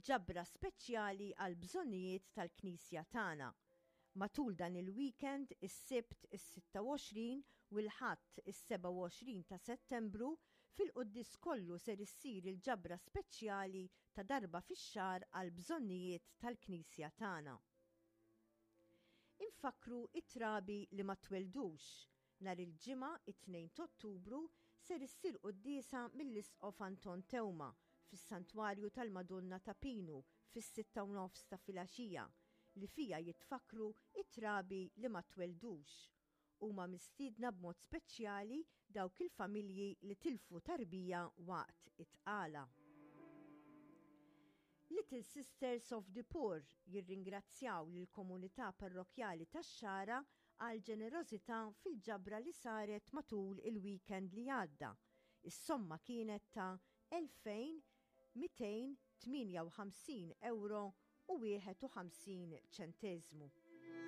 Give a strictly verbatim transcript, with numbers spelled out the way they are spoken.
Ġabra speċjali għal bżonnijiet tal-Knisja tagħna. Matul dan il-weekend, is-Sibt is-sitta u għoxrin u l-Ħadd is-sebgħa u għoxrin ta' Settembru, fil-quddies kollu ser issir il-ġabra speċjali ta' darba fix-xahar għal bżonnijiet tal-Knisja tagħna. Infakru it-trabi li ma tweldux. Nhar il-Ġimgħa it-tnejn Ottubru ser issir quddiesa mill-Isqof Anton Teuma fis-Santwarju tal-Madonna ta' Pinu fis-sitta u nofs ta' filgħaxija li fija jitfakru it-trabi li ma tweldux. Huma mistiedna b'mod speċjali dawk il-familji li tilfu tarbija waqt it-tqala. Little Sisters of the Poor jirringrazzjaw lill komunità parrokjali tax-Xagħra għal ġenerożità fil-ġabra li saret matul il-weekend li għadda. Is-somma kienet ta' elfejn mitejn tmienja u ħamsin euro u wieħed u ħamsin ċenteżmu.